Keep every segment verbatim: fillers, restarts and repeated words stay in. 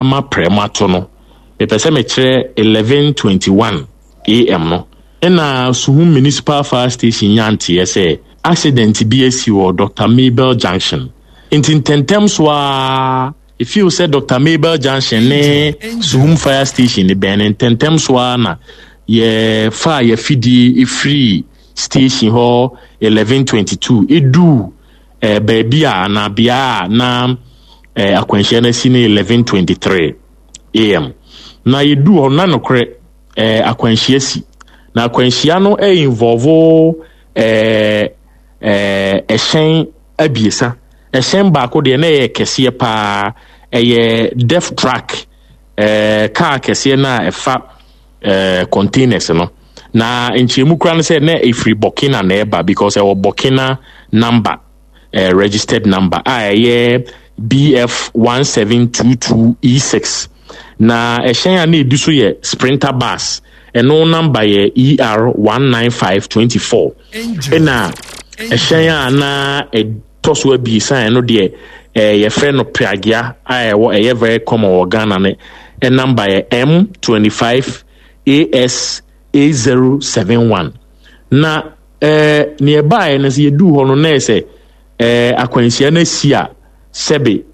Ama prɛmo ato no, mepɛ sɛ mekyerɛ eleven twenty one am no, ɛna Suhum Municipal Fire Station nya nteɛ sɛ accident bi asi wɔ Doctor Mabel Junction. Nti ntɛntɛm so ara, ɛfeel sɛ Doctor Mabel Junction ne Suhum Fire Station bɛn no, ntɛntɛm so ara na yɛfaa yɛafidie ɛfiri station hɔ eleven twenty two ɛduu eh, baabi a anaa bea a na eh, akwanhyia no asi no eleven twenty three am. Na yɛduu hɔ na nokorɛ eh, akwanhyia si. Na akwanhyia no eh, involve eh, eh, ɛhyɛn abiesa. Ɛhyɛn baako deɛ na ɛyɛ kɛseɛ paa, ɛyɛ def truck, eh, kaa kɛseɛ no a ɛfa eh, containers no. Na nkyerɛmu kora no sɛ na ɛfiri Burkina na ɛba, because ɛwɔ Burkina number, eh, registered number a ɛyɛ B F one seven two two E six. Na ɛhyɛn a na ɛdi so yɛ Sprinter bus, ɛno number yɛ E R one nine five twenty four. Ɛna ɛhyɛn a na ɛtɔ so abiesa ɛno deɛ, eh, yɛfrɛ no Pragya a ɛwɔ, ɛyɛ very common wɔ Ghana no, ɛ number yɛ M twenty five A S A zero seven one. Na, eh, nea ɛbaeɛ no sɛ yɛduu hɔ no na ɛyɛ sɛ, eh, akwanhyia no asi a sɛbe,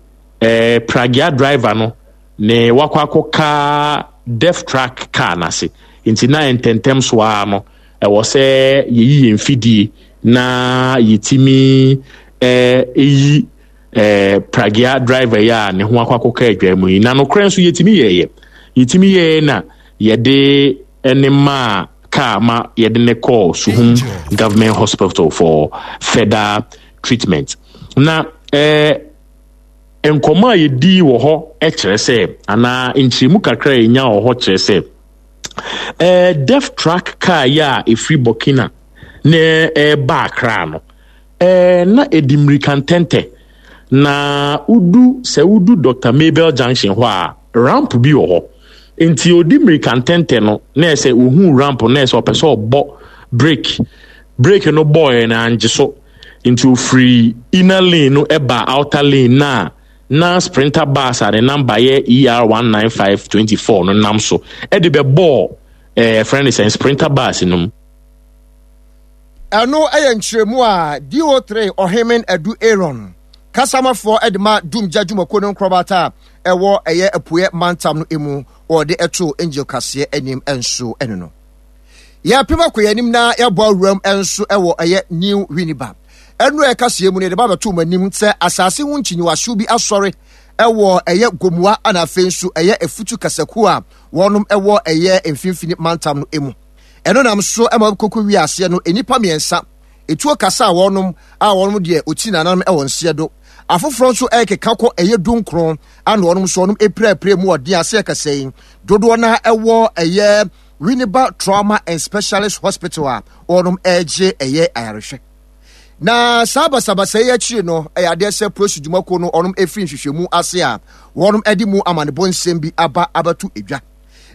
eh, Pragya driver no ne wakɔ akɔka def truck car n'ase. Nti na ntɛntɛm so ara no ɛwɔ sɛ yɛyi yɛn fidie na yɛtumi, eh, ɛyi, eh, Pragya driver yi a ne ho akɔ akɔka adwa mu yi. Na nokorɛ nso yɛtumi yɛɛyɛ. Yɛtumi yɛɛyɛ na yɛde ne maa car ma yɛde ne kɔɔ Suhum Government Hospital for further treatment. Na, eh, nkɔmmɔ a yɛdi wɔ hɔ kyerɛ sɛ, anaa nkyerɛmu kakra a yɛnya wɔ hɔ kyerɛ sɛ, eh, def truck car yi a ɛfiri Burkina na ɛreba Accra no, eh, na ɛdi mmirika ntɛntɛ. Na udu, sɛ udu Doctor Mabel Junction hɔ a, ramp bi wɔ hɔ. Nti odi mmirika ntɛntɛ no, na ɛsɛ ohu ramp no, na ɛsɛ ɔpɛ sɛ ɔbɔ brake. Brake no bɔɔɛ na angye so. Nti ofiri inner lane no ɛba outer lane na na Sprinter bus a ne number yɛ E R one nine five twenty four no nam so. Ɛde bɛbɔɔ, eh, friend sɛ Sprinter bus no mu. Ɛno ɛyɛ nkyerɛmu a D O three Ɔhemen Adu Aaron kasamafoɔ ɛde ma Dumgya dwumakuo no nkorɔbata a ɛwɔ ɛyɛ apueɛ mantam no emu wɔde ɛto Angel kaseɛ anim nso ɛno no. Yɛpem akɔ yɛn anim na yɛabɔ awuram nso ɛwɔ ɛyɛ New Winneba. Ɛno a ɛkaseɛ mu no yɛde ba bɛto wɔn anim sɛ asase ho nkyinyiwahyew bi asɔre ɛwɔ ɛyɛ Gomoa ana afei nso ɛyɛ Efutu kasakuo a wɔnom ɛwɔ ɛyɛ mfimfini mantam no emu. Ɛno nam so ɛma koko wiaseɛ no nnipa mmiɛnsa etuo kasa a wɔnom a wɔnom deɛ oti nananom ɛwɔ nseɛ do. Afoforɔ nso ɛkeka kɔ ɛyɛ dunkron ana wɔnom nso wɔnom epirapira mu ɔden ase ɛkasa yi. Dodoɔ na ɛwɔ ɛyɛ Winneba Trauma and Specialist Hospital a wɔnom ɛregye ɛyɛ ayarehwɛ. Na saa basabasa yi akyiri no ɛyɛ adeɛ sɛ polisi dwumakuo no wɔnom efiri nhwehwɛmu ase a wɔnom ɛde mu amanebɔ nsɛm bi aba abɛto edwa.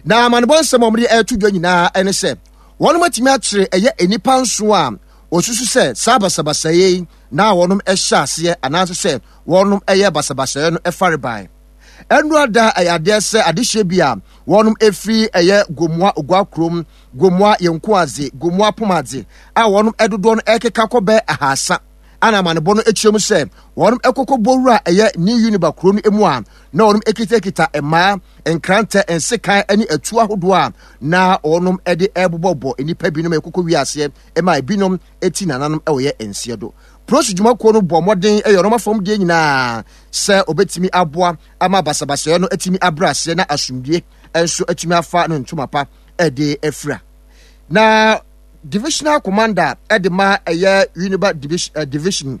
Na amanebɔ nsɛm a wɔde ɛreto dwa nyinaa ɛne sɛ wɔnom atumi akyere ɛyɛ nnipa nson a wɔsusu sɛ saa basabasa yi na wɔnom ɛhyɛ aseɛ anaasɛ sɛ wɔnom ɛyɛ basabasa no ɛfare ban. Ɛno ada ɛyɛ adeɛ sɛ adehyɛ bi a wɔnom efiri ɛyɛ Gomoa Oguakurom, Gomoa Yenkoadze, Gomoa Pomadze a wɔnom ɛdodoɔ no ɛkeka kɔ bɛɛ ahasa. Ana amanebɔ no akyerɛ mu sɛ wɔnom ɛkɔkɔ bɔwura ɛyɛ New Winneba kuro no mu a na wɔnom ekitakita mmaa, nkrantɛ, nsekan ne atuo ahodoɔ a na wɔnom ɛde ɛbobɔbɔ nnipa binom ɛkɔkɔ wiaseɛ ɛma ebinom eti nananom ɛwɔ yɛ nseɛ do. Polisi dwumakuo no bɔ mmɔden ɛyɛ wɔn afɔm deɛ nyinaa sɛ obetumi aboa ama basabasayɛ no atumi abrɛ aseɛ na asomdwie nso atumi afa no ntoma pa ɛde afira. Na divisional commander ɛde ma ɛyɛ Winneba division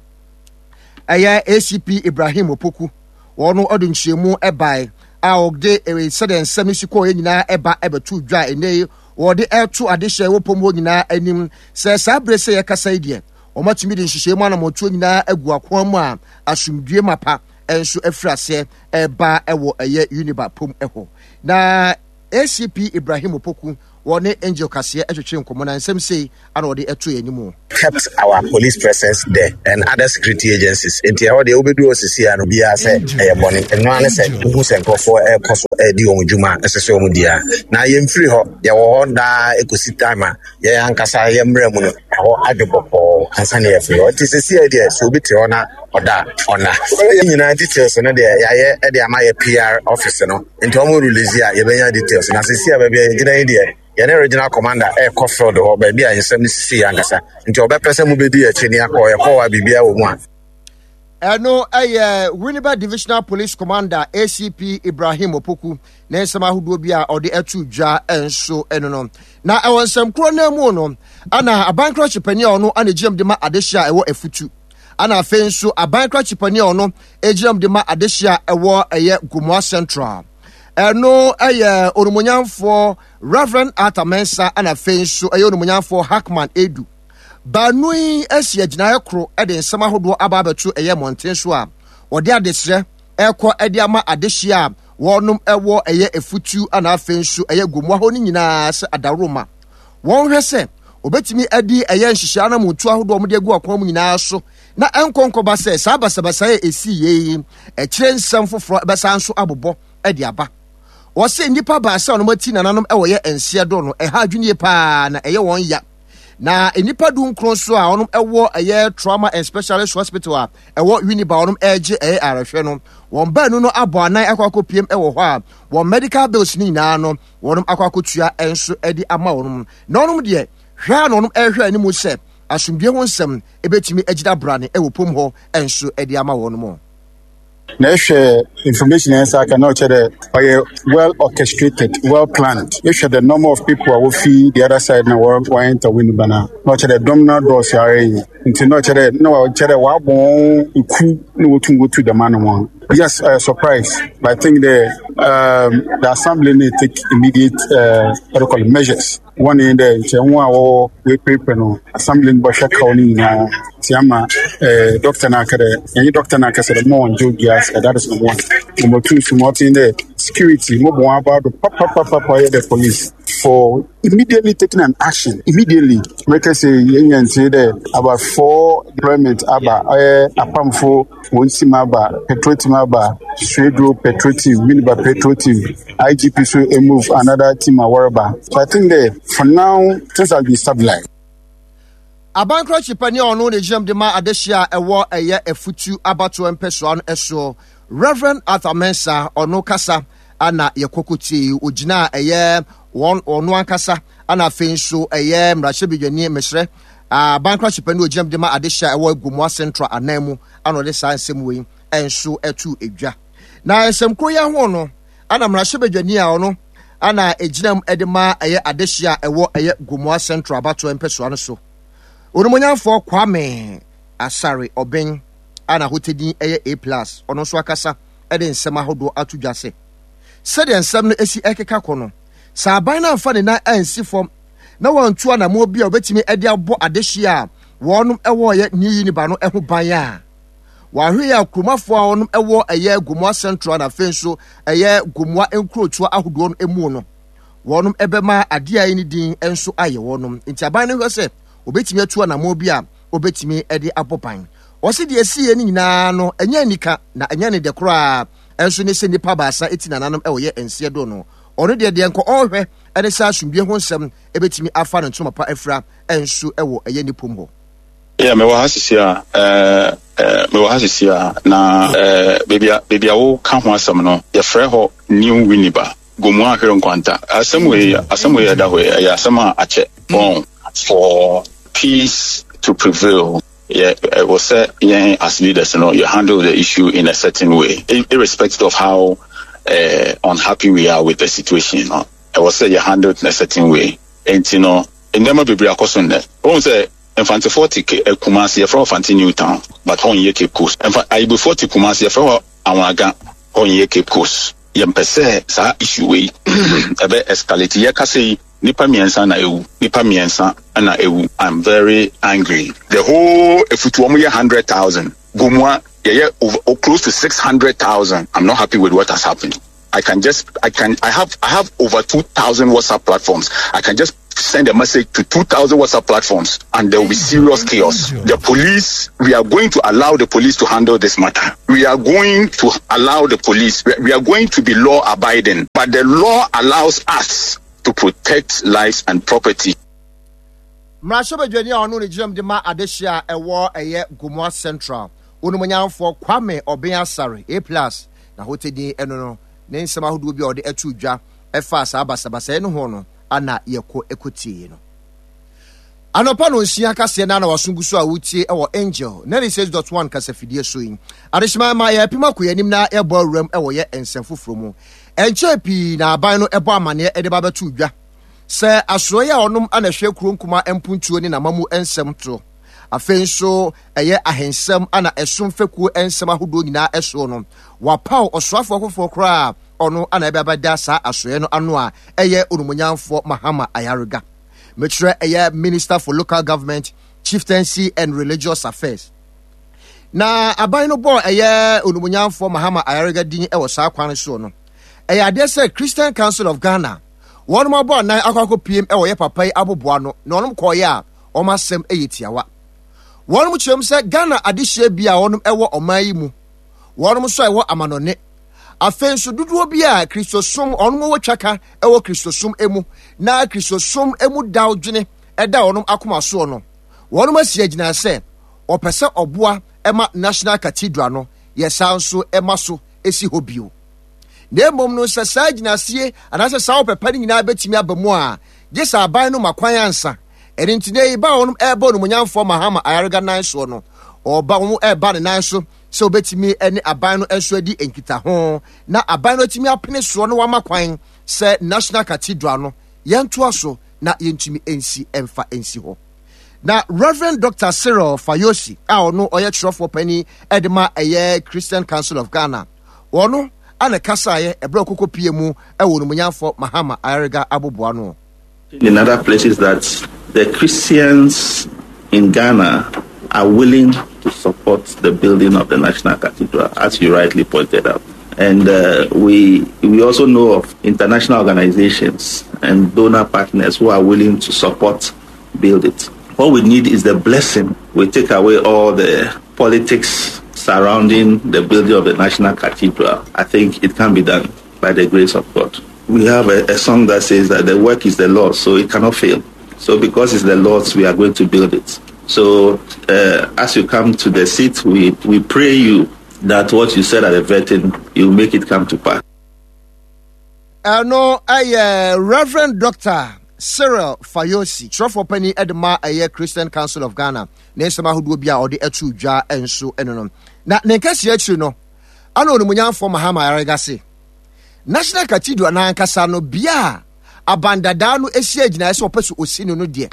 ɛyɛ A C P Ibrahim Opoku wɔn ɔde nkyerɛmu ɛbae a ɔde sɛdeɛ nsɛm si kɔɔ yɛ nyinaa ɛba ɛbɛto dwa ɛnɛ yi wɔde ɛto adehyɛ wɔ pɔm hɔ nyinaa anim sɛ saa bere sɛ yɛkasa yi deɛ wɔn atumi de nhyehyɛe mu anamɔtuo nyinaa agu akoa mu a asomdwie mapa nso afiri aseɛ ɛba ɛwɔ ɛyɛ Winneba pɔm ɛhɔ. Na A C P Ibrahim Opoku Wɔne Angel Kaseɛ twetwe nkɔmmɔ na nsɛm sei ana ɔde ɛto yɛn anim. Kept our police presence there and other security agencies. Nti ɛhɔ deɛ, wobɛdu hɔ sisi a no, biara sɛ ɛyɛ bɔne. Ɛno ara ne sɛ wohu sɛ nkurɔfoɔ ɛrekɔ so ɛredi wɔn dwuma a ɛsɛ sɛ wɔn di a, na yɛmfiri hɔ. Yɛwɔ hɔ daa ɛkɔsi time a yɛn ankasa yɛ mmerɛ mu no ɛhɔ adwo bɔkɔɔ ansa na yɛfiri hɔ. Nti sisi a deɛ, sɛ obi te hɔ na ɔda, ɔna yɛn nyinaa details no deɛ, yɛayɛ de ama yɛ P R office no, nti wɔn release a, yɛbɛnya details. Na sisi a baabi a yɛgyina yi deɛ, yɛne regional commander ɛrekɔ field hɔ, baabi a nsɛm no sisi yɛ ankasa, nti ɔbɛpɛ sɛ mobɛdi akyi ne akɔ. Yɛkɔ hɔ a, biribiara wɔ mu a. Ɛno ɛyɛ Winneba Divisional Police Commander A C P Ibrahim Opoku ne nsɛm ahodoɔ bi a ɔde ato dwa nso ɛno no. Na ɛwɔ nsɛm koro no mu no, ana aban krakye panin a ɔno ana gyinam de ma adehyɛ a ɛwɔ Afutu, ana afei nso aban krakye panin a ɔno gyinam de ma adehyɛ a ɛwɔ ɛyɛ Gomoa Central, ɛno ɛyɛ Onumonyamfoɔ Reverend Arthur Mensa, ana afei nso ɛyɛ Onumonyamfoɔ Hackman Edu. Baanu yi asi agyinaeɛ koro de nsɛm ahodoɔ aba abɛto ɛyɛ mmɔnten so a wɔde adesrɛ ɛkɔ de ama adehyeɛ a wɔnom ɛwɔ ɛyɛ Efutu, ana afei nso ɛyɛ Gomoa hɔ no nyinaa, sɛ adaworoma wɔn hwɛ sɛ obetumi adi ɛyɛ nhyehyɛ anamontu ahodoɔ a wɔde agu akwan mu nyinaa so, na ɛnkɔ nkɔba sɛ saa basabasa a esi yie yi ɛkyerɛ nsɛm foforɔ ɛbɛsan nso abobɔ de aba. Wɔsɛ nnipa baasa a wɔn ati nananom ɛwɔ yɛ nseɛ do no, ɛha adwene paa na ɛyɛ wɔn ya, na nnipa du nkron so a wɔn ɛwɔ ɛyɛ Trauma and Specialist Hospital a ɛwɔ Winneba, wɔn ɛregye ɛyɛ arehwɛ no, wɔn baanu no abɔ anan akɔ akɔpiem ɛwɔ hɔ a wɔn medical bills ne nyinaa no, wɔn akɔ akɔtua nso ɛde ama wɔn. Na wɔn deɛ, hwɛ a na wɔn ɛrehwɛ anim sɛ asomdue ho nsɛm ebɛtumi agyina brane ɛwɔ pom hɔ nso ɛde ama wɔn mo. Na ehwɛ information a nsa aka na ɔkyerɛ dɛ ɔyɛ well orchestrated, well planned. Ehwɛ the number of people a wofi the other side na wɔ wɔn enter Winneba na na ɔkyerɛ dɛ dɔm no adɔɔso ara yi, nti na ɔkyerɛ dɛ na ɔkyerɛ dɛ wɔabɔ wɔn eku na wotum wotu dɛm ano. Yes, uh, surprise, but I think the um, the assembly need take immediate uh, what do you call it, measures. One in dɛ nkyɛn ho a wɔwɔ wɔapirapira no, assembly no bɔhwɛ kaw no nyinaa nti ama eh, doctor no aka dɛ ɛnyɛ doctor no akasa dɛ mo ɔngye obiara sika. That is number one. Number two so, ma ɔte dɛ security mo bɔ wɔn aba do papapapa, yɛ the police for immediately taking an action immediately. Mɛka sɛ yɛnya ntie dɛ about four deployment aba, ɔyɛ apamfo wɔn team aba, patrol team aba, Swedru patrol team, Winneba patrol team, I G P so move another team a wɔreba. So I think that for now things have been stabilized. Abankrakye panin a ɔno ne gyinam de ma adehyɛ a ɛwɔ ɛyɛ Afutu abatoɔ mpɛsoa no ɛsoɔ, Reverend Arthur Mensa, ɔno kasa ana yɛkɔkɔ tie. Ogyina a ɛyɛ wɔn ɔno ankasa, ana afei nso ɛyɛ mmarahyɛbadwani mesrɛ abankrakye panin a ogyinam de ma adehyɛ a ɛwɔ Gomoa Central anan mu, ana ɔde saa nsɛm wei nso ɛto edwa. Na nsɛm koro yi ho no, ana mmarahyɛbadwani a ɔno ana egyinam de ma ɛyɛ adehyɛ a ɛwɔ ɛyɛ Gomoa Central abatoɔ mpɛsoa no so, Onimonyamfoɔ Kwame Asare Ɔbɛn a n'ahotedin yɛ A Plus, ɔno nso akasa de nsɛm ahodoɔ ato dwa sɛ sɛdeɛ nsɛm no esi ɛkeka kɔ no, sɛ aban no amfa ne nan ansi fam na wɔntu anammɔn bi a wɔbɛtumi de abɔ adehyeɛ a wɔn ɛwɔ yɛ New Winneba no ho ban a, wɔahwɛ yɛ akuromafoɔ a wɔn ɛwɔ ɛyɛ Gomoa Central na afei nso ɛyɛ Gomoa nkurotoɔ ahodoɔ no mu no, wɔn ɛbɛma adeɛ a ɛne din nso ayɛ wɔn. Nti aban no hwɛ sɛ obɛtumi atu anammɔn bi a obɛtumi de abɔ ban. Wɔsi deɛ esi yɛ no nyinaa no, ɛnyɛ anika na ɛnyɛ ne dɛ koraa ɛnso ne sɛ nipa baasa eti nananom ɛwɔ yɛ nseɛ do no. Ɔno deɛ deɛ nkɔ ɔrehwɛ ɛne sɛ asomdue ho nsɛm ɛbɛtumi afa ne ntoma pa afira ɛnso ɛwɔ ɛyɛ ne pom hɔ. Yeah, mewɔ ha sisi a ɛɛ ɛɛ mewɔ ha sisi a na ɛɛ beebi a beebi a woka ho asɛm no, yɛfrɛ hɔ New Winneba, Gomoa Ahwere Nkwanta. Asɛm wei asɛm wei ɛda hɔ yi, ɛyɛ asɛm a akyɛ wɔn. For peace to prevail, yɛ ɛwɔ sɛ yɛn as leaders no, you handle the issue in a certain way, irrespective of how uh, unhappy we are with the situation no, ɛwɔ sɛ yɛ handle it in a certain way. Nti no, nneɛma bebree akɔ so nnɛ. Wɔn sɛ Mfantefoɔ te Kumasi, yɛfrɛ hɔ Fante New Town, but hɔ nyɛ Cape Coast. Mfa Ayibofoɔ te Kumasi, yɛfrɛ hɔ Anwraga, hɔ nyɛ Cape Coast. Yɛmpɛ sɛ saa issue wei ɛbɛ escalate. Yɛkasa yi, nipa mmiɛnsa na ewu, nipa mmiɛnsa na ewu. I'm very angry. The whole Efutu, wɔn yɛ hundred thousand. Gomua yɛyɛ over, close to six hundred thousand. I'm not happy with what has happened. I can just, I can, I have, I have over two thousand WhatsApp platforms. I can just send a message to two thousand WhatsApp platforms and there will be serious chaos. The police, we are going to allow the police to handle this matter. We are going to allow the police, we are going to be law abiding, but the law allows us to protect lives and property. Mmarahyɛbadwani a ɔno ne gyinam de ma adehye a ɛwɔ ɛyɛ Gomoa Central, Onumonyamfoɔ Kwame Obeng Asare, A plus, na hotedin ɛno no, ne nsɛm ahodoɔ bi a ɔde ɛto dwa ɛfa saa basabasayɛ no ho no, ana yɛkɔ ɛkɔtie no. Anɔpa no nsia kaseɛ na na waso gu so a wotie ɛwɔ Angel ninety-six point one kasafidie so yi. Adehyema ma yɛpem akɔ yɛn anim na yɛbɔ awuram ɛwɔ yɛ nsɛm foforɔ mu. Ɛnkyɛn pii na aban no ɛbɔ amanneɛ ɛde ba bɛto dwa sɛ asoɛeɛ a ɔnom ana hwɛ kuro nkuma mpuntuo ne n'amamu nsɛm to. Afei nso ɛyɛ ahensɛm ana ɛsom fekuo nsɛm ahodoɔ nyinaa ɛsoɔ no. Wapaw ɔsoafoɔ foforɔ koraa ɔno ana ɛbɛbɛda saa asoɛeɛ no ano a ɛyɛ onumonyamfoɔ Mahama Ayariga. Mekyerɛ ɛyɛ Minister for Local Government, Chieftaincy and Religious Affairs. Na aban no bɔɔ ɛyɛ onumonyamfoɔ Mahama Ayariga din ɛwɔ saa kwan soɔ no. Ɛyɛ adeɛ sɛ Christian Council of Ghana wɔn abɔ anan akɔ akɔpiem ɛwɔ yɛ papa yi aboboa no na wɔn kɔɔyɛ a wɔn asɛm ɛyɛ tiawa. Wɔn kyerɛm sɛ Ghana adehyeɛ bi a wɔn ɛwɔ ɔman yi mu, wɔn nso a ɛwɔ amanɔne. Afei nso dodoɔ bi a Kristosom wɔn wɔ twaka ɛwɔ Kristosom emu na Kristosom emu daw dwene ɛda wɔn akoma soɔ no, wɔn asi agyina sɛ ɔpɛ sɛ ɔboa ɛma National Cathedral no yɛ saa nso ɛma so esi hɔ bio. Na mmom no sɛ saa gyinasie anaasɛ saa ɔpɛpɛ no nyinaa bɛtumi aba mu a, gye sɛ aban no ma kwan ansa. Ɛno nti na ba wɔn ɛrebɔ onumonyamfoɔ Mahama Ayariga nan soɔ no, ɔba wɔn ɛreba ne nan so sɛ obetumi ne aban no nso adi nkitaho na aban no atumi apene soɔ no wama kwan sɛ National Cathedral no yɛntoa so na yɛntumi nsi ɛmfa nsi hɔ. Na Reverend Doctor Cyril Fayosi a ɔno ɔyɛ kyerɛfoɔ panin ɛde ma ɛyɛ Christian Council of Ghana, ɔno ana kasaeɛ ɛberɛ ɔkɔkɔ pie mu ɛwɔ onumonyamfoɔ Mahama Ayariga aboboa no. In other places that the Christians in Ghana are willing to support the building of the National Cathedral, as you rightly pointed out. And, uh, we, we also know of international organizations and donor partners who are willing to support build it. What we need is the blessing. We take away all the politics surrounding the building of the National Cathedral. I think it can be done by the grace of God. We have a, a song that says that the work is the Lord's, so it cannot fail. So because it's the Lord's, we are going to build it. So, uh, as you come to the seat, we, we pray you that what you said at the vetting, you make it come to pass. Ɛno ɛyɛ Reverend Doctor Cyril Fayosi, kyerɛfoɔ panin ɛde ma ɛyɛ Christian Council of Ghana, ne nsɛm ahodoɔ bi a ɔde ɛto dwa nso ɛno no. Na ne nkɛseɛ akyiri no, ana onimonyamfoɔ Mahama Ayariga se, National Cathedral n'ankasa no bea a abandadaa no esi agyinaeɛ sɛ ɔpɛ so osi no no deɛ,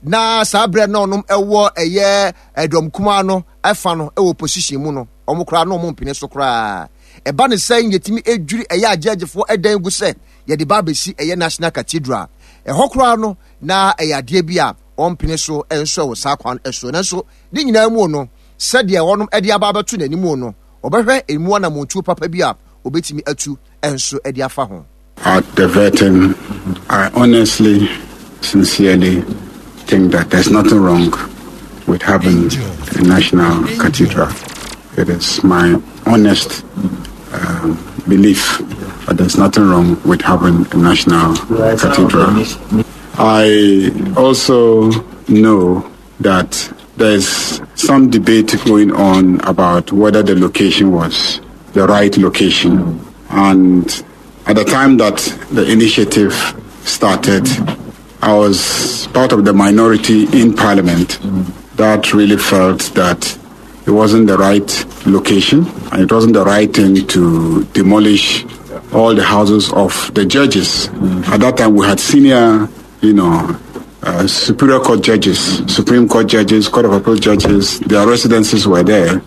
na saa berɛ na ɔnom ɛwɔ ɛyɛ ɛdɔm kumaa no ɛfa no ɛwɔ position mu no, ɔmo koraa na ɔmo mpene so koraa. Ɛba ne sɛ yɛtumi edwiri ɛyɛ agyegyefoɔ ɛdan gu sɛ yɛde ba abɛsi ɛyɛ National Cathedral. Ɛhɔ koraa no na ɛyɛ adeɛ bi a ɔmpene so nso ɛwɔ saa kwan ɛso. Nanso ne nyinaa mu no, sɛdeɛ wɔnom ɛde aba abɛto n'anim no, ɔbɛhwɛ emu anammɔntuo papa bi a obetumi atu nso ɛde afa ho. At the vetting, I honestly, sincerely think that there's nothing wrong with having a national cathedral. It is my honest, um, belief that there's nothing wrong with having a national cathedral. I also know that there's some debate going on about whether the location was the right location. And at the time that the initiative started, I was part of the minority in Parliament that really felt that it wasn't the right location and it wasn't the right thing to demolish all the houses of the judges. At that time, we had senior, you know, uh, Superior Court judges, Supreme Court judges, Court of Appeal judges, their residences were there.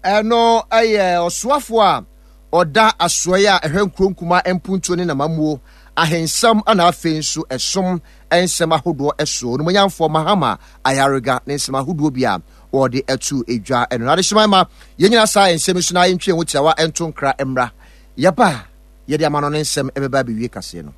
Ɛno ɛyɛ ɔsoafo a ɔda asoɛe a ɛhwɛ nkuro nkuma mpuntuo ne namamuo ahensɛm ana afei nso ɛsom nsɛm ahodoɔ ɛso. Onimonyamfoɔ Mahama Ayariga ne nsɛm ahodoɔ bi a wɔde ɛto edwa ɛno. Na adehyema ma yɛn nyinaa saa nsɛm so na yɛntwe ho tiawa ɛnto nkra mmra. Yɛba a, yɛde amanɔne nsɛm ɛbɛba abɛwie kaseɛ no.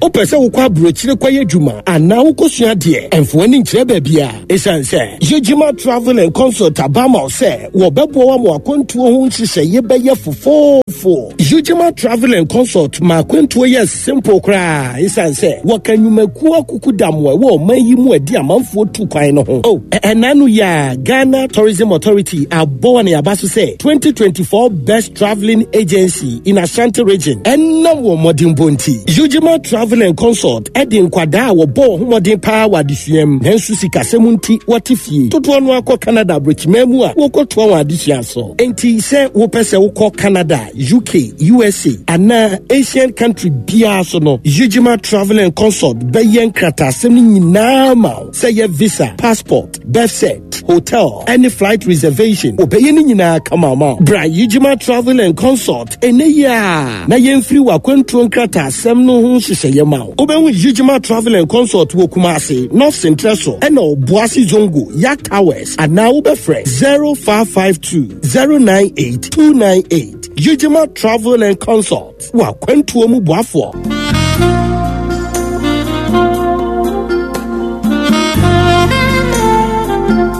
Wopɛ sɛ wokɔ aburokyire kɔyɛ adwuma anaa wokɔsua adeɛ? Ɛmfa w'ani nkyerɛ baabi a, ɛsiane sɛ Yegyima Travel and Consult aba ama wo sɛ wɔbɛboa wo ama w'akwantuo ho nhyehyɛeɛ bɛyɛ fofoofo. Yegyima Travel and Consult ma akwantuo yɛ simple koraa, ɛsiane sɛ wɔka nnwumakuo akukudam a ɛwɔ ɔman yi mu adi amanfoɔ tu kwan no ho. Oh, ɛna no yɛ a Ghana Tourism Authority abɔ wɔn aba so sɛ twenty twenty-four Best Travelling Agency in Ashanti Region ɛnam wɔn mmɔdenbɔ nti. Yegyima Travel and Consult ɛde nkwadaa a wɔbɔ wɔn ho mmɔden paa wɔ adesua mu nanso sikasɛm nti wɔte fie dodoɔ no akɔ Canada aburokyiman mu a wɔkɔtoa wɔn adesua so. Nti sɛ wopɛ sɛ wokɔ Canada, U K, U S A anaa Asian country biara so no, Yegyima Travel and Consult bɛyɛ nkrataasɛm no nyinaa ma wo, sɛ yɛ visa, passport, birth cert, hotel ɛne flight reservation, wɔbɛyɛ no nyinaa kama ma wo. Bra Yegyima Travel and Consult ɛnɛ yi a na yɛmfiri w'akwantuo nkrataasɛm no ho nhyehyɛeɛ ma wo. Wobɛhu Yegyima Travel and Consult wɔ Kumase, North Central so ɛna Ɔboase Zongo Yak Towers, anaa wobɛfrɛ zero five five two zero nine eight two nine eight. Yegyima Travel and Consult, wɔ akwantuo mu boafoɔ.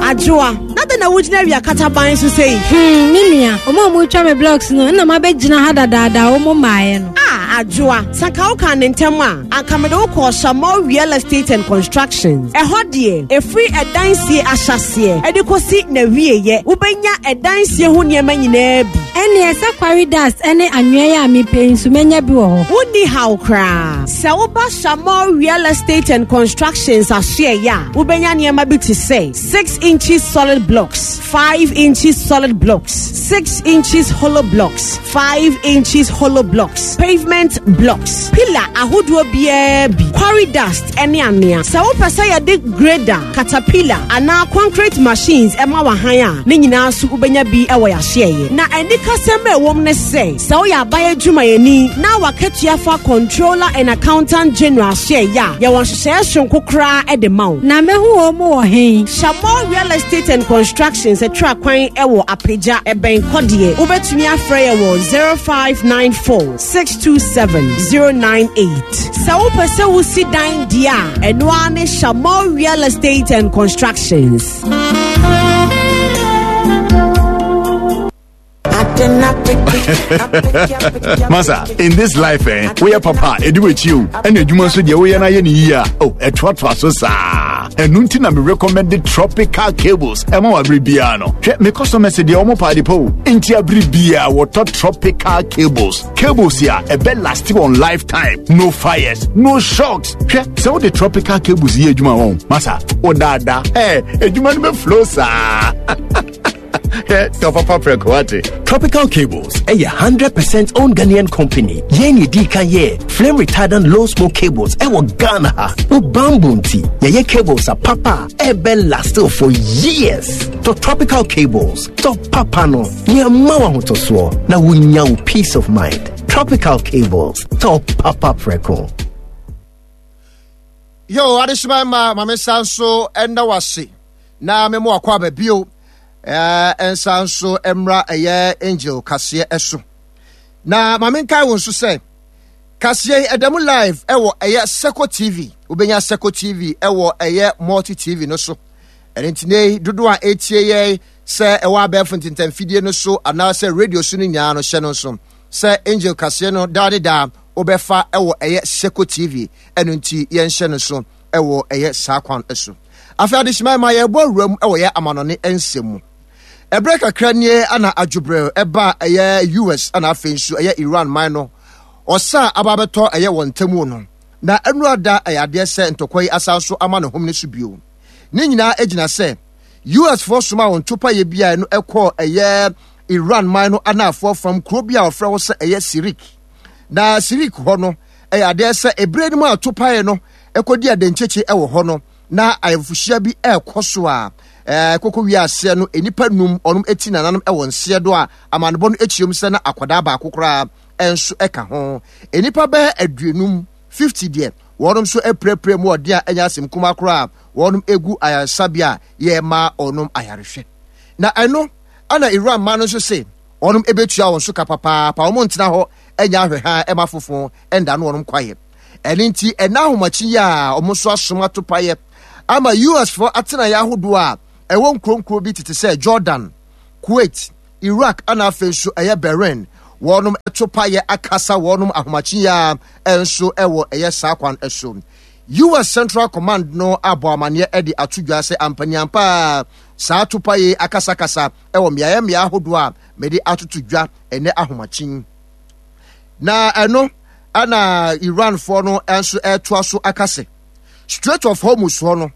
Adwoa, na dɛn na wogyina awia kataban so sei? Hmm, me nua, ɔmo a ɔmo me blocks no, ɛna mabɛgyina ha dadaada, ɔmo mmaeɛ no. A Adwoa, sanka woka ne ntɛm a, anka mede wokɔɔ Shamol Real Estate and Constructions. Ɛhɔ deɛ, ɛfiri ɛdansie ahyɛseɛ ɛde kɔsi na wieyɛ, wobɛnya ɛdansie ho nneɛma nyinaa bi. Ɛneɛ sɛ quarry dust ɛne anwea yi a mepɛ yi nso, mɛnya bi wɔ hɔ? Wonni haw koraa. Sɛ woba Shamol Real Estate and Constructions ahyeɛyɛ a, wobɛnya nneɛma bi te sɛ six inches solid blocks, five inches solid blocks, six inches hollow blocks, five inches hollow blocks, pavement blocks, pillar ahodoɔ biara bi, quarry dust ɛne anwea. Sɛ wopɛ sɛ yɛde grader, caterpillar anaa concrete machines ɛma wahan a, ne nyinaa so wobɛnya bi ɛwɔ yɛahyeɛyɛ. Na anikasɛm a ɛwɔ mu ne sɛ, sɛ woyɛ aban adwumayɛni na wakatua fa Controller and Accountant General ahyeɛyɛ a, yɛwɔ nhyehyɛeɛ soronko koraa ɛde ma wo. Na mɛhu wɔn mu wɔ hen? Shamol Real Estate and Constructions atwa kwan ɛwɔ Apagya, ɛbɛn Kɔdeɛ. Wobɛtumi afrɛ yɛ wɔ zero five nine four six two seven zero nine eight. Sɛ wopɛ sɛ wosi dan deɛ a, ɛno ara ne Shamol Real Estate and Constructions. Masa, in this life, eh, woyɛ papa ɛdi w'akyi o, ɛna adwuma nso deɛ woyɛ no ayɛ ne yie a, oh, ɛtoatoa so saa. Ɛno nti na me recommend Tropical Cables ɛma wɔ abere biara no. Hwɛ, me customers deɛ, ɔmo paade pa o, nti abere biara wɔtɔ Tropical Cables. Cables a ɛbɛ last wɔn lifetime, no fires, no shocks. Hwɛ, sɛ wode Tropical Cables yɛ adwuma wɔn, masa, wodaadaa ɛ adwuma no bɛ flow saa. Tɔ papa prɛko, wate. Tropical Cables ɛyɛ hundred percent owned Ghanaian company. Yɛn ne di kan yɛ flame retardant low smoke cables ɛwɔ Ghana ha. Wo bamboo nti yɛyɛ cables a papa a ɛbɛ last for years. Tɔ Tropical Cables, tɔ papa no, nneɛma wɔ ahotɔsoɔ na wonya wo peace of mind. Tropical Cables, tɔ papa prɛko. Yo, adehyema ma maame nsa nso ɛnda wase na memo akɔ aba bio. ɛɛ nsa nso mmra ɛyɛ Angel kaseɛ ɛso na maame nkae wo nso sɛ kaseɛ yi ɛda mu live ɛwɔ ɛyɛ Seko T V. Wobɛnya Seko T V ɛwɔ ɛyɛ Multi T V no so. Ɛno nti ne dodoɔ a ɛtie yɛ sɛ ɛwɔ abɛɛfo ntentamfidie no so anaasɛ radio so no nyinaa no, hyɛ no nso sɛ Angel kaseɛ no daa ne daa wobɛfa ɛwɔ ɛyɛ Seko T V. Ɛno nti yɛnhyɛ no so ɛwɔ ɛyɛ saa kwan so. Afei adehyema ma yɛbɔ awura mu ɛwɔ yɛ amanɔne nsɛm mu. Ɛberɛ kakra nie ana adwobrɛ ɛba ɛyɛ U S ana afei nso ɛyɛ Iran man no ɔsa aba abɛtɔ ɛyɛ wɔn ntamu no, na ɛnu ada ɛyɛ adeɛ sɛ ntɔkwa yi asan so ama ne hom ne so bio. Ne nyinaa gyina sɛ U S foɔ soma wɔn topaeɛ bi a ɛno ɛkɔɔ ɛyɛ Iran man no anaafoɔ fam kuro bi a wɔfrɛ hɔ sɛ ɛyɛ Sirik. Na Sirik hɔ no, ɛyɛ adeɛ sɛ ebere no mu a topaeɛ no ɛkɔdi adenkyekye ɛwɔ hɔ no, na ayɛfohyia bi ɛrekɔ so a ɛɛ koko wie aseɛ no, nnipa num ɔnom eti nananom ɛwɔ nseɛ do a amanebɔ no akyerɛ mu sɛ na akwadaa baako koraa ɛnso ɛka ho. Nnipa bɛyɛ aduonum, fifty deɛ, wɔnom nso apirapira mu ɔde a ɛnyɛ asɛm kuma koraa. Wɔnom egu ayaresabea a yɛrema ɔnom ayarehwɛ. Na ɛno ɛna Iran ma no nso se Wɔnom ɛbɛtua wɔn so ka papaapa. Wɔn ntena hɔ ɛnyɛ ahwɛhaa ɛma afofo ɛnda no wɔnom kwaeɛ. Ɛno nti ɛna ahomakye yi a wɔn nso asom atopaeɛ ama U S foɔ atenaeɛ ahodoɔ a ɛwɔ nkuronkuro bi tete sɛ Jordan, Kuwait, Iraq ana afei nso ɛyɛ Bahrain. Wɔnom ɛto paeɛ akasa wɔnom ahomakye yi a ɛnso ɛwɔ ɛyɛ saa kwan ɛso. U S Central Command no abɔ amanneɛ ɛde ato dwa sɛ ampaniampa saa topaeɛ akasakasa ɛwɔ mmeaeɛ mmeaeɛ ahodoɔ a mede atoto dwa ɛnɛ ahomakye. Na ɛno ɛna Iranfoɔ no nso ɛtoa so aka sɛ Strait of Hormuz hɔ no,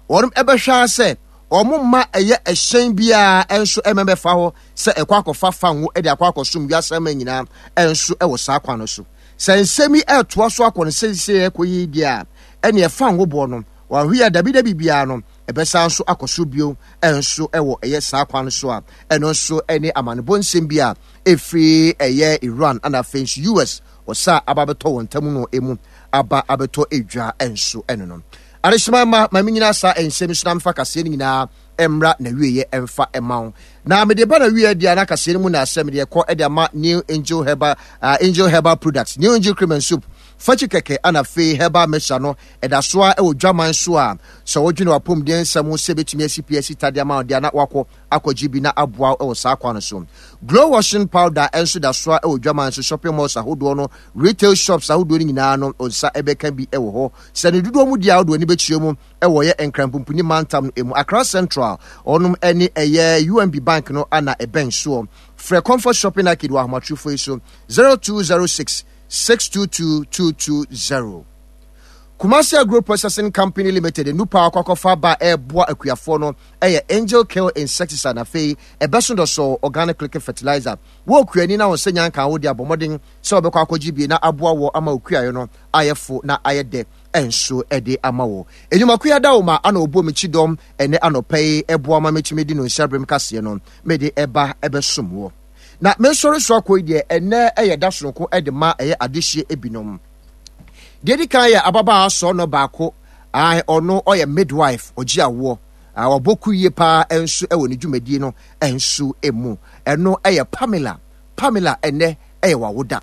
wɔn ɛbɛhwɛ sɛ wɔn mma ɛyɛ ɛhyɛn biara nso ɛmɛmɛfa hɔ sɛ ɛkɔ akɔfa fango ɛde akɔ akɔsom wiase ama nyinaa nso ɛwɔ saa kwan no so. Sɛ nsɛm yi ɛtoa so akɔ no sɛsɛ ɛkɔ yi deɛ a, ɛne ɛfango boɔ no wɔahwe a dabidabi biara no ɛbɛsan nso akɔ so bio nso ɛwɔ ɛyɛ saa kwan no so a, ɛno nso ɛne amanebɔ nsɛm bi a ɛfiri ɛyɛ Iran ana afei nso U S ɔsa aba abɛtɔ wɔn ntam no emu aba abɛtɔ edwa nso. Ɛno no adehyema ma maame nyinaa saa nsɛm so na mefa kaseɛ no nyinaa mmra na wieɛ ɛmfa ɛma wo na mede ba na wieɛ deɛ na kaseɛ no mu na asɛm deɛ ɛkɔ ɛde ama New Angel Herbal, uh, Angel Herbal Products, New Angel Cream and Soup fakyi kɛkɛ ana afei herbal mixture no ɛda so a ɛwɔ dwaman so a, sɛ wodwene wapɔmuden nsɛm ho sɛ bɛtumi asi pii asi tadeɛ ama wo deɛ na wakɔ akɔgye bi na aboa wɔ saa kwan no so. Glow washing powder nso da so a ɛwɔ dwaman so, shopping malls ahodoɔ no, retail shops ahodoɔ no nyinaa no nsa ɛbɛka bi ɛwɔ hɔ. Sɛ ne dodoɔ mu di a, wode w'ani bɛkyerɛ mu ɛwɔ yɛ Nkranpumpuni mantam no emu, Accra Central, ɔnom ɛne ɛyɛ U M B Bank no ana ɛbɛn soɔ. Frɛ Comfort Shopping Arcade wɔ ahomatorofo yi so, zero two zero six six two two two two zero. Kumasi Agro Processing Company Limited nupa akɔkɔfa ba ɛɛboa akuafoɔ no ɛyɛ Angel Kill insecticide na afei ɛbɛso dɔsɔ organic liquid fertilizer. Wɔ okuani na wɔn sɛ nyanka wo de abɔ mmɔden sɛ wɔbɛkɔ akɔgye bie na aboa wɔ ama okuaeɛ no ayɛ fo na ayɛ dɛ ɛnso ɛde ama wɔ enyumakuya da wo ma ana ɔbɔ mi kyi dɔm ɛnɛ anɔpɛ yi ɛboa ma metumi di no nhyɛbrem kaseɛ no mede ɛba ɛbɛsom wɔ na mensɔre so akɔ yi deɛ, ɛnɛ ɛyɛ da sononko ɛde ma ɛyɛ adehyeɛ ebinom. Deɛ di kan yɛ ababaawa sɔɔ baako a ɔno ɔyɛ midwife, ɔgye awoɔ, ɔbɔ ku yie paa nso ɛwɔ ne dwumadie no nso emu. Ɛno ɛyɛ Pamela. Pamela, ɛnɛ ɛyɛ wawoda.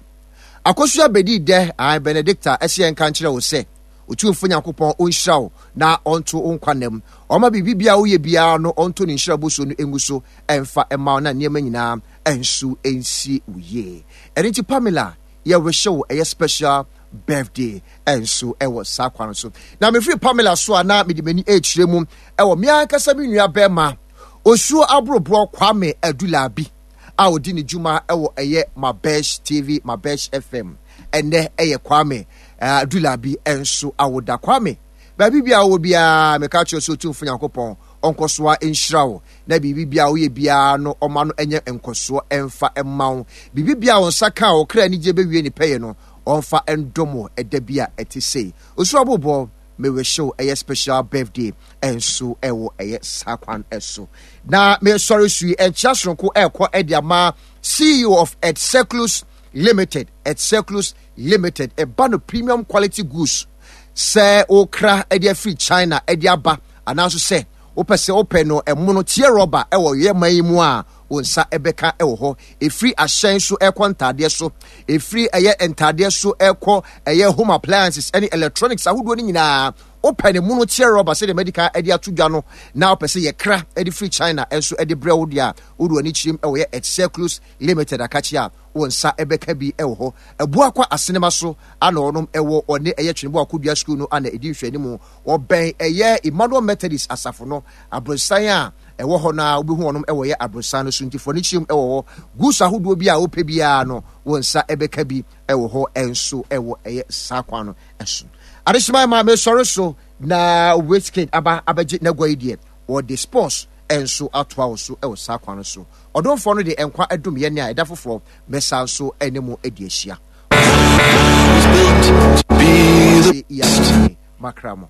Akosua bɛdi dɛ a Benedicta ɛsɛ yɛn nka nkyerɛ wo sɛ Otumfo Nyankopɔn ɔnhyira wo na ɔnto wo nkwa nam, ɔma biribi biara woyɛ biara no ɔnto ne nhyira bosuo no ngu so ɛmfa ɛma wo na nneɛma nyinaa ɛnso ɛnsi wo yie. Ɛno nti Pamela, yɛrehyɛ wo ɛyɛ special birthday ɛnso ɛwɔ saa kwan so. Na mefiri Pamela so a, na mede m'ani ɛrekyerɛ mu ɛwɔ me ankasa me nua bɛrima Osuo Aboroborɔ Kwame Adulabi a ɔdi ne dwuma ɛwɔ ɛyɛ Mabesh T V, Mabesh F M. Ɛnɛ ɛyɛ Kwame Adulabi ɛnso awoda. Kwame, baabi bi a wɔwɔ biara, meka kyerɛ sɛ Otumfo Nyankopɔn ɔnkɔ so a nhyira wo na biribi bi a woyɛ biara no ɔma no ɛnyɛ nkɔsoɔ ɛmfa ɛma wo. Biribi bi a wo nsa ka a ɔkra anigye bɛwie ne pɛyɛ no, ɔmfa ndom wo ɛda bi a ɛte sei. Osuo Abobɔ, mewɛhyɛw ɛyɛ special birthday ɛnso ɛwɔ ɛyɛ saa kwan ɛso. Na mesɔre so yi, ɛnkyia soronko ɛrekɔ ɛde ama C E O of Edcirclus Limited. Edcirclus Limited ɛba no premium quality goods sɛ wokra ɛde afiri China ɛde aba, anaasɔ sɛ wopɛ sɛ wopɛ no ɛmono tie rɔba ɛwɔ yɛ man yi mu a, wo nsa ɛbɛka ɛwɔ hɔ. Ɛfiri ahyɛn so ɛkɔ ntaadeɛ so, ɛfiri ɛyɛ ntaadeɛ so ɛkɔ ɛyɛ home appliances ɛne electronics ahodoɔ no nyinaa, wopɛ ne mono teɛ rɔba sɛdeɛ medical ɛde ato dwa no na wopɛ sɛ yɛkra ɛde firi China ɛnso ɛde brɛ wo deɛ a, wode w'ani kyerɛm ɛwɔ yɛ Edcirclus Limited akakye a, wo nsa ɛbɛka bi ɛwɔ hɔ. Abuakwa Asenema so ana ɔnom ɛwɔ, ɔne ɛyɛ Twenebo Akodua School no ana ɛdi nhwɛanimu. Ɔbɛn ɛyɛ Emmanuel Methodist asafo no aborosan a ɛwɔ hɔ no a, wobɛhu ɔnom ɛwɔ yɛ aborosan no so. Nti fɔ ne kyerɛm ɛwɔ hɔ. Goods ahodoɔ bi a wopɛ biara no, wo nsa ɛbɛka bi ɛwɔ hɔ ɛnso ɛwɔ ɛyɛ saa kwan no ɛso. Adehyema ma mesɔre so na Wizkid aba abɛgye n'agua yi deɛ, wɔde sports ɛnso atoa wo so ɛwɔ saa kwan no so. Ɔdomfoɔ no de nkwa adum yɛn a, ɛda foforɔ mɛsa nso ɛne mu adi ahyia makra mo.